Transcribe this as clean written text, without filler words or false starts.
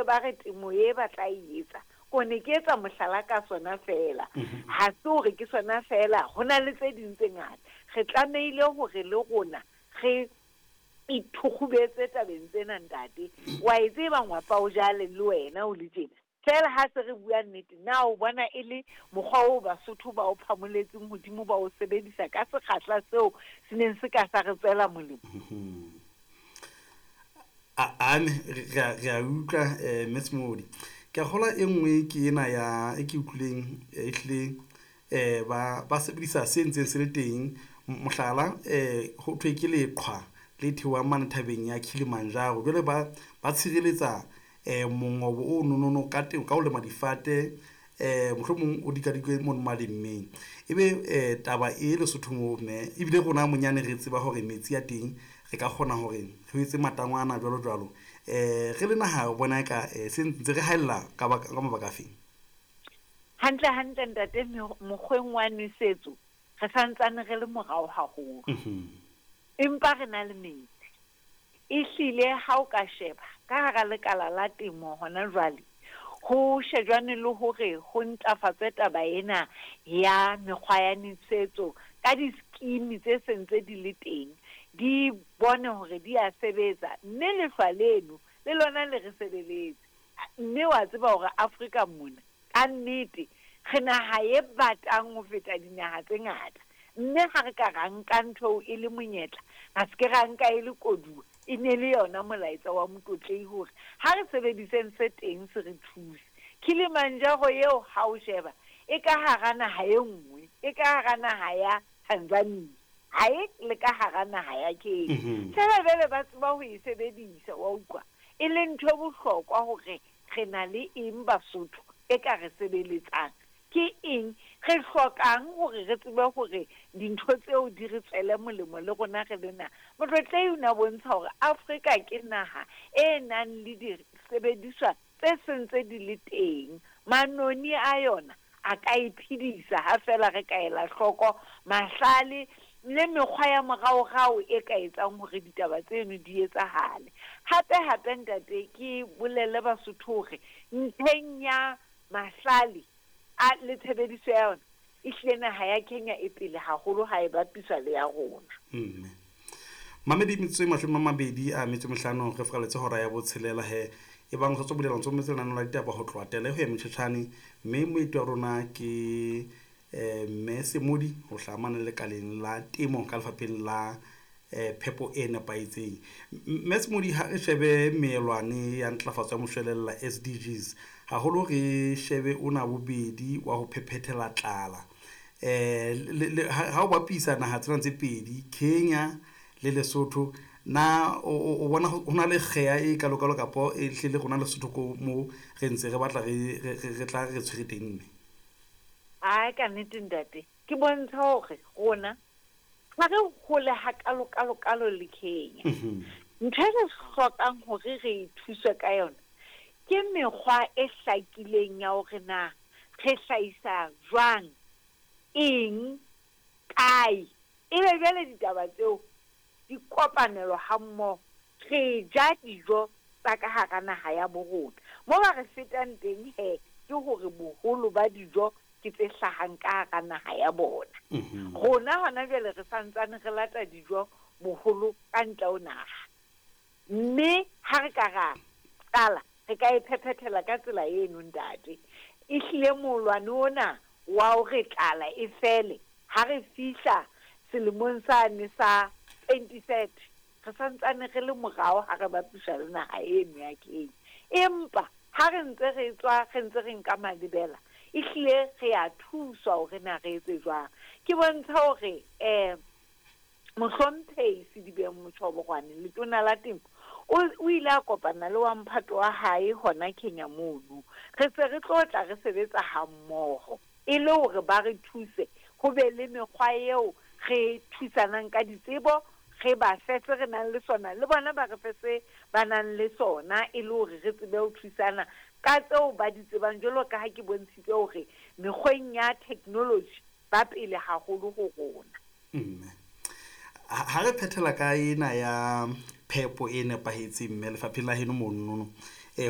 hlile ba re temo e ba tla e etsa, ko ne ke etsa mohlala ka sona feela. Ha se hore ke sona feela, ho na le tse ding tse ngata. Re tlamehile hore le rona re ithukgubetse tabeng tsena, ntate. Wa e tseba ngwapa o jale le wena o le tjena. Feela ha se re bua nnete, na o bona e le mokgwa oo Basotho ba o phamoletseng hodimo ba o sebedisa ka sekgahla seo se neng se ka sa re tswela molemo? Ane re a utlwa, Mme Semodi. Ke a kgolwa e nngwe ke ena ya e ke utlwileng ehlile ba sebedisa se ntseng se le teng. Mohlala, ho thwe ke leqhwa le theohang mane thabeng ya Kilimanjaro. Jwale ba tshireletsa mongobo o nonono ka teng ka ho lema difate, mohlomong o dikadikwe mono malemmeng. Ebe taba e Lesotho moo, mme ebile rona monyane re tseba hore metsi a teng re ka kgona hore re etse matangwana jwalo jwalo. Re le naha o bona eka se ntse re haella ka mabaka a feng? Hantle hantle ntate, mokgweng wa nwesetso re santsane re le morao haholo. Empa re na le metsi. Ehlile ha o ka sheba ka hara lekala la temo hona jwale, ho shejwane le hore ho ntlafatswe taba ena ya mekgwa ya nwesetso ka di-scheme tse sentse di le teng, di bone hore di a sebetsa, mme lehlwa leno le lona le re sebeletse. Mme wa tseba hore Afrika mona ka nnete re naha e batang ho feta dinaha tse ngata, mme ha re ka ra nka ntho e le monyetla, ra se ke ra nka e le koduwa, e ne le yona molaetsa wa Motlotlehi hore ha re sebediseng se teng se re thuse. Kilimanjaro eo ha o sheba e ka hara naha e nngwe, e ka hara naha ya Tanzania, ha e le ka hara naha ya Kenya. Feela jwale ba tseba ho e sebedisa, wa utlwa, e le ntho e bohlokwa hore re na le eng Basotho e ka re sebeletsang. Ke eng re hlokang hore re tsebe hore dintho tseo di re tswele molemo le rona re le naha. Motlotlehi o ne a bontsha hore Afrika ke naha e nang le disebediswa tse sentse di le teng. Manoni a yona a ka e phedisa ha feela re ka ela hloko mahlale le mekgwa ya moraorao e ka etsang hore ditaba tseno di etsahale. Hape hape ntate, ke bolelle Basotho hore ntlheng ya mahlale a le tshebediso ya yona, ehlile naha ya Kenya e pele haholo ha e bapiswa le ya rona. Mme mamedi, metsotso e 25 re furaletse hora ya botshelela he. E bang ho tswa bulela ntso metse lenaneo la ditaba ho tloha tele ho ya metjhetjhane, mme moeti wa rona ke Mme Semodi ho hlaha mane lekaleng la temo ka lefapheng la phepo e nepahetseng. Mme Semodi, ha re shebe meelwane ya ntlafatso ya moshwelella SDGs, haholo re shebe ona bobedi wa ho phephethela tlala. Ha o bapisa naha tsena tse pedi, Kenya le Lesotho, na o bona ho na le kgeha e kalokalo kapo e hlile rona Lesotho ko mo re ntse re batla re tla re tshwere teng mme? Ai, ka nnete ntate, ke bontsha hore rona ha re hole hakalo-kalo-kalo le Kenya. Ntho e re hlokang hore re thuswe ka yona ke mekgwa e hlakileng ya hore na re hlahisa jwang, eng, kae. Ebe jwale ditaba tseo di kopanelwa hammoho, re ja dijo tsa ka hara naha ya bo rona. Mo ba re fetang teng he ke hore boholo ba dijo ke tse hlahang ka hara naha ya bona. Rona hona jwale re santsane re lata dijo boholo ka ntle ho naha. Mme ha re ka ra qala, re ka e phephethela ka tsela eno ntate. Ehlile molwane ona wa hore tlala e fele ha re fihla selemong sane sa 2030, re santsane re le morao ha re bapiswa le naha eno ya Kenya. Empa ha re ntse re tswa, re ntse re nka malebela, ehlile re a thuswa hore na re etse jwang. Ke bontsha hore Mohlomphehi Sedibeng Motjhoborwane, letona la temo, o ile a kopana le wa mphato wa hae hona Kenya mono. Re se re tlo tla re sebetsa hammoho e le hore ba re thuse, ho be le mekgwa eo re thusanang ka ditsebo, re ba fe se re nang le sona, le bona ba re fe se ba nang le sona, e le hore re tsebe ho thusana ka tseo ba di tsebang, jwalo ka ha ke bontshitse hore mekgweng ya technology ba pele haholo ho rona. Mme ha re phethela ka ena ya phepo e nepahetseng, mme lefapheng la heno monono,